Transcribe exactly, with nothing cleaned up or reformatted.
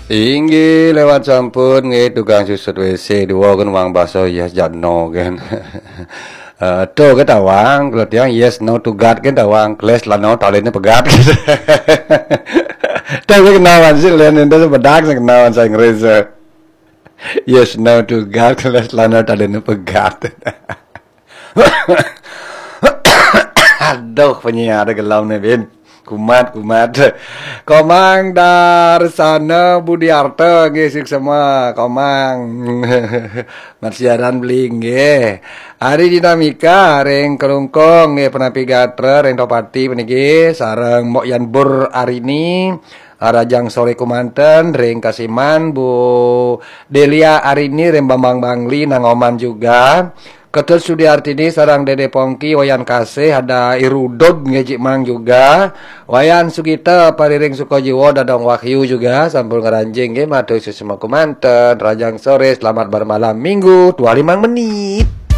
Inggih lewat sampun nggih tukang susut W C dua kan wang baso yes jat no kan. Eh, to ke tawang kalau tiang yes no to God kan tawang keles lano talene pegat. Tapi kenawan sih lain itu sebedak sih kenawan saya ngerasa. Yes no to God keles lano talene pegat. Aduh penyiar gelam nih bin. Kumat kumat. Komang Darsana Budiarta nggih sik semua Komang. Mat siaran beling nggih. Ari Dinamika ring Kelungkung nggih penapi gatra ring Topati puniki sareng Mbok Yan Bur Arini. Rajang sore kumanten ring Kasiman Bu Delia Arini ring Bambang Bangli nang Oman juga. Ketut Sudiartini sareng Dede Pongki, Wayan Kasih, ada Irudud nggih Cik Mang juga. Wayan Sugita, Pariring Sukajiwa, Dadong Wahyu juga sampun ngranjing nggih matur suksma kumanten. Rajang sore, selamat bermalam minggu, dua limang menit.